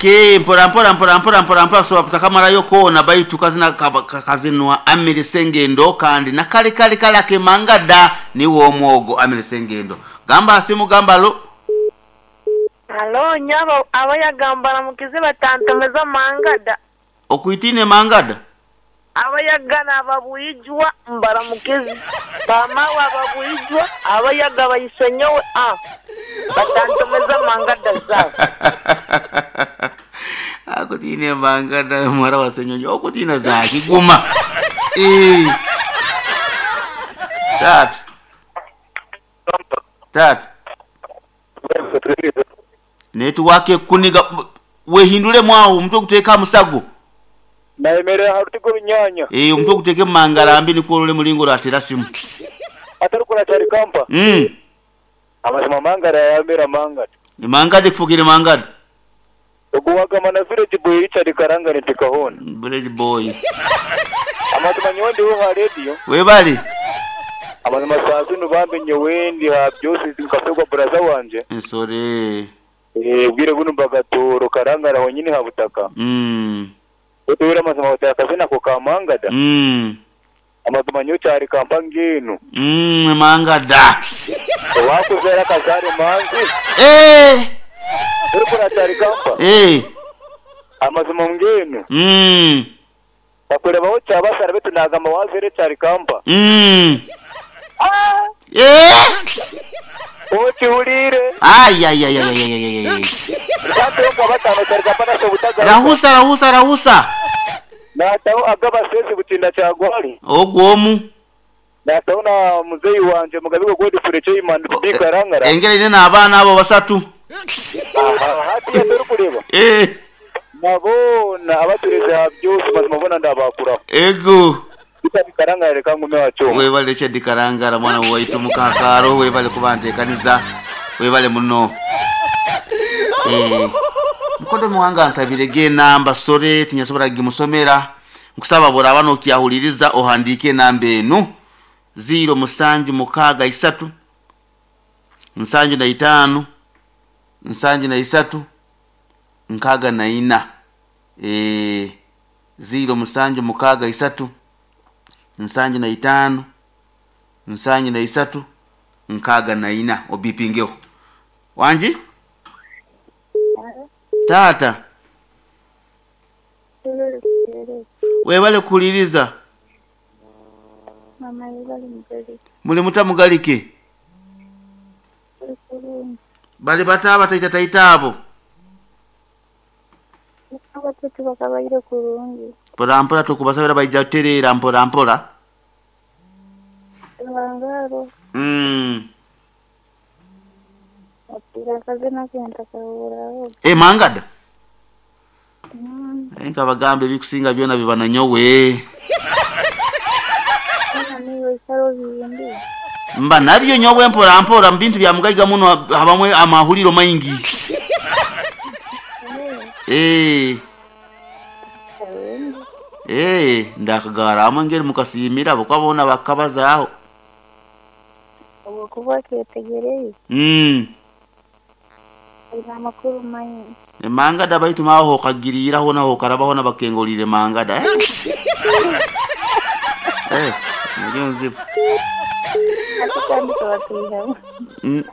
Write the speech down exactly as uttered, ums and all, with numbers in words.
Okay, mpora mpora mpora mpora mpora mpora so takamarayo koona baitu kazina kazinwa Amiri Sengendo kandi nakale kale kale akemangada niwo omwogo Amiri Sengendo. Gamba asimu gamba lo. Halo nyabo abayagambara mukizi batantomeza mangada. Okuitine mangada? Abayagana ababuijwa mbaramukizi. Bamawa ababuijwa abayaga bayisenyowe a batantomeza mangada zao. Akutine mangada mwara wasenyonyo okutina zaki guma. Eh. Tatu. Tatu. Netu wake kuniga wehindule mwawo mtu kuteka musago. Naemerera harutigo binyanya. Eh mtu kuteke mangara mbi niko lule mulingo ratera simu. Atarukura cyari kampa. Mm. Amazima mangara yamera mangara. Ni mangade kufukire mangada. Oguwaga mana village boy Richard Karanga nitikahona. Village boy. Amazima nyondi ho ha radio. Webali. Amazima sazi nubambe nyewendi ha byose zikafegwa braza wanje. Nsore. Eh bwire buno bagatoro Karangara honyine ha butaka. Mm. Otwira amazima otakaze ko kamangada. Mm. Amazima nyo cyari kampanginu. Mm mangada. Wakuzera kazare manzi. Eh. Urikura cyari kampa. Eh. Amazima ngenu. Mm. Bakureba ho cyabasara betunagamba wazere cyari kampa. Mm. Ah. Eh. Ochiulire. Ay ay ay ay ay ay ay. Rahusa rahusa rahusa. Nataho agaba sezi butinda cyagwali. Ogwomu. Nataho na muzeyi wanje mugabigo godi fureche imandu bikarangara. Engere ine na abana abo basatu. Aha hati ya kureba. Eh. Nabona abatureze byose mazima bona ndabakura. Ego. Bikarangara reka ngume wacho. Webale Chedi Karangara mwana waitu mukakaro webale kubanteekaniza webale muno. Eh. Mukodo muwanga nsabire ge namba sore tinyasobora gimusomera nkusaba bora abano kyahuliriza ohandike namba enu zero musanju mukaga isatu nsanju na itano nsanju na isatu nkaga na ina eh zero musanju mukaga isatu nsanju na itano nsanju na isatu nkaga na ina obipingeo wanji tata webale kuliriza mama webale mugalike muli mutamugalike bali bataba taita taita abo abatutu bakabaire kurungi mpora mpora tukubasabira baija terera mpora mpora bangaro mm atira kazina kenta kaburaho eh mangada mm enka bagambe bikusinga byona bibana nyowe niyo isaro bindi mba nabyo nyowe mpora mpora mbintu bya mugaiga muno habamwe amahuliro maingi eh eh ndakagara amangeri mukasimira bokabona bakabazaho obukuba ketegereye mm ina makuru maingi mangada baitu maho kagirira ho naho karabaho nabakengolire mangada eh eh nayo nzibu atakandi twatuha. Mm.